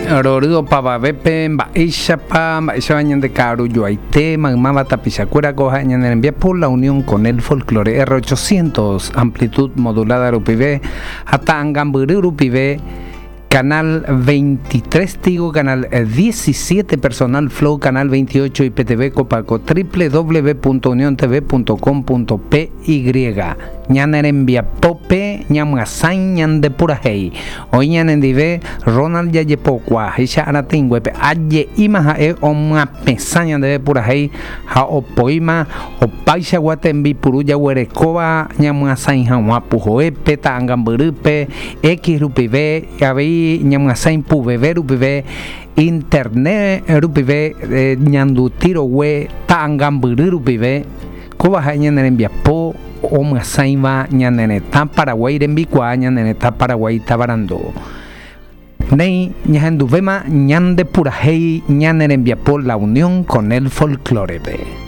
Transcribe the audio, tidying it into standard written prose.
Rory opavavépe mba'éichapa mba'éichapa ñande ka'arujoaite maymáva tapichakuéra ko ha'e ñane rembiapo La Unión con el Folklore R800 amplitud modulada rupive ha ta'angambyry rupive Canal 23 Tigo, Canal 17 Personal Flow, Canal 28 IPTV Copaco, www.uniontv.com.py Ñane rembiapópe ñamyasãi ñande purahéi. Oĩ ñanendive Ronald Jajepokuaa, he'icha aratĩnguépe, aje'íma ha'e omyapesã ñandéve purahéi ha opoíma opaichagua tembipuru jaguerekóva ñamyasãi hag̃ua puhoépe, ta'angambyrýpe, X rupive, avei ñamyasãi puveve rupive, internet rupive, ñanduti rogue ta'angambyry rupive, kóva ha'e ñane rembiapo omyasãiva ñane retã Paraguái rembikuaa ñane retã Paraguái tavarandu. Néi ñahenduvéma ñande purahéi ñane rembiapo La Unión con el Folklore-pe.